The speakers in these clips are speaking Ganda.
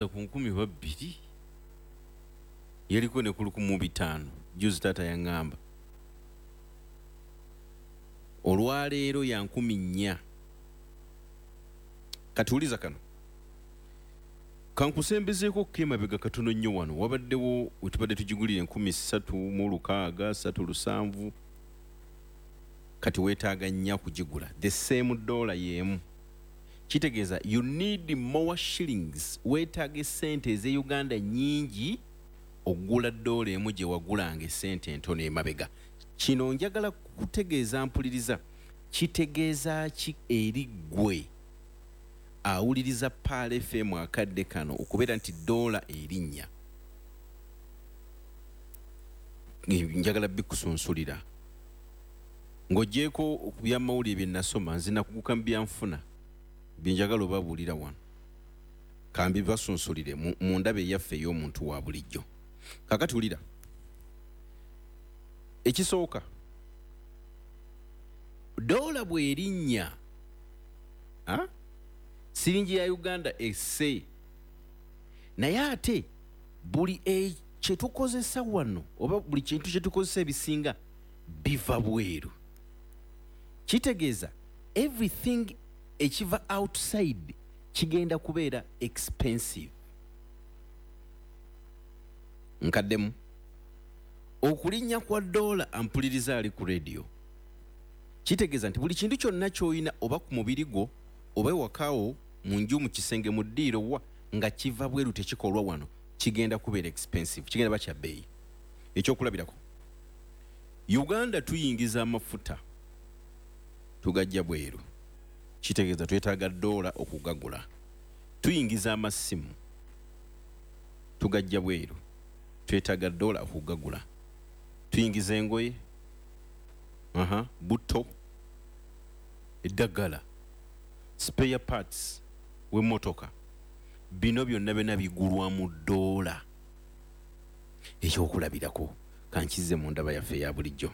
Ku 2000 yaliko ne ku 1500. Juzi taata yaŋŋamba olwaleero ya 4000. Kati wuliza kano kankusembezeeko ko emabega katono nnyo. Wano wabaddewo wetubadde tugigulira 3600, 37. Kati weetaaga nnya kugigula the same dollar y'emu. Kitegeeza you need more shillings, weetaaga esente ez'e Uganda nyingi okugula dola emu gye wagulanga esente entono emabega. Kino njagala kutegeeza mpuliriza, kitegeeza ki eri ggwe awuliriza Pearl FM akadde kano okubeera nti dola erinnya? Njagala bikusunsulira ng'ogyeko ku byamawulire bye nasoma. Nze nakuguka mu byanfuna, byenjagala obabuulira wano kambi basunsulire mu ndaba eyaffe ey'omuntu wa bulijjo. Kakati wulira ekisooka: dola bw'erinnya, siringi ya Uganda esse, naye ate buli kyetukozesa wano oba buli kintu kyetukozesa ebisinga biva bweru. Kitegeeza everything ekiva outside kigenda kubeera expensive. Nkaddemu, okulinnya kwa dola, ampuliriza ali ku radio, kitegeeza nti buli kintu kyonna ky'olina oba ku mubiri gwo oba ewakawo mu nju, mu kisenge, mu ddiiro, wa nga kiva bweru, tekikolwa wano, kigenda kubeera expensive, kigenda ba kya bbeeyi. Ekyokulabirako, Uganda tuyingiza amafuta, tugajja bweru, kitegeeza twetaaga dola okugagula. Tuyingiza amasimu, tugajja bweru, twetaaga dola okugagula. Tuyingiza engoye, buto, eddagala, spare parts w'emmotoka, bino byonna byonna bigulwa mu dola. Ekyokulabirako, kankize mu ndaba yaffe eya bulijjo.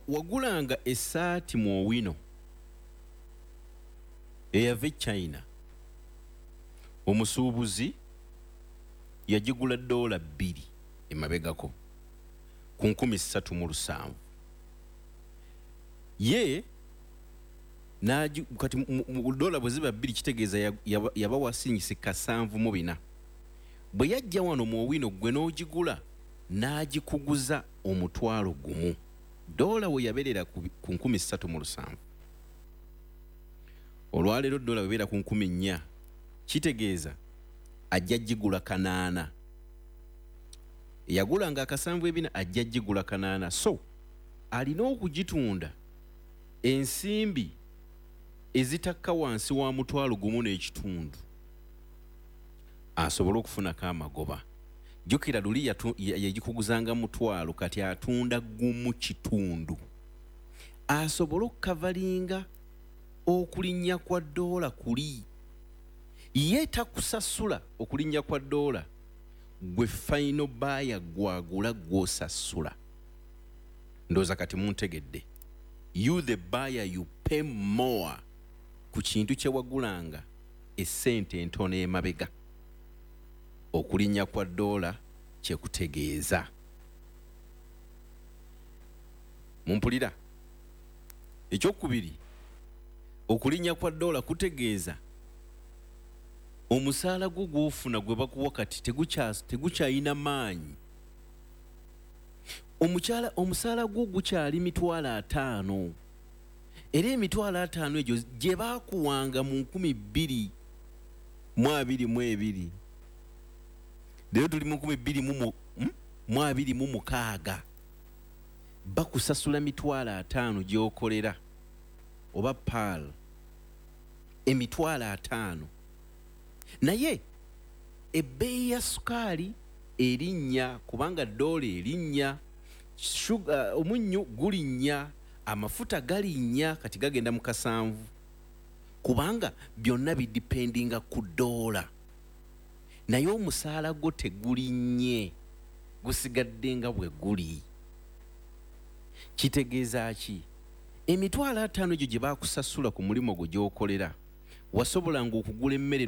Wagulanga essaati mu Owino eyava e China, omusuubuzi yagigula $2 emabegako ku 3700 ye kati dola bwe ziba 2, kitegeeza yabawa sinyisi 74. Bwe yajja wano mu Owino, gwe n'ogigula n'agikuguza 10,000. Dola we yabeerera ku 3700, olwaleero dola webeera ku 4000, kitegeeza ajja gigula 800. Yagulanga akasanvu ebina, ajja gigula 800. So alina okugitunda ensimbi ezitakka wansi wa 1,500 asobole okufunako amagoba. Jjukira luli yagikuguzanga 1,000, kati atunda 1.5 asobole okukavalinga okulinnya kwa doola kuli. Ye takusasula okulinnya kwa doola, gwe final buyer gwagula gwosasula. Ndowooza kati muntegedde. You the buyer, you pay more ku kintu kye wagulanga essente entono emabega. Okulinnya kwa doola kyekutegeeza. Mumpulira? Ekyokubiri, okulinnya kwa doola kutegeeza omusaala gwo gwofuna gwe bakuwa kati tegukyayina maanyi. Omukyala, omusaala gwo gukyali 50,000, era 50,000 egyo gye baakuwanga mu 2022, leero tuli mu 2026, bakusasula 50,000 gy'okolera oba Pearl, 50,000, naye ebbeeyi ya sukaali erinnya kubanga doola erinnya, omunnyu gulinnya, amafuta galinnya, kati gagenda mu 70 kubanga byonna bidipendinga ku doola. Naye omusaala gwo tegulinnye, gusigadde nga bwe guli. Kitegeeza ki? 50,000 egyo gye bakusasula ku mulimu gwo gy'okolera Wasobolanga okugula emmere.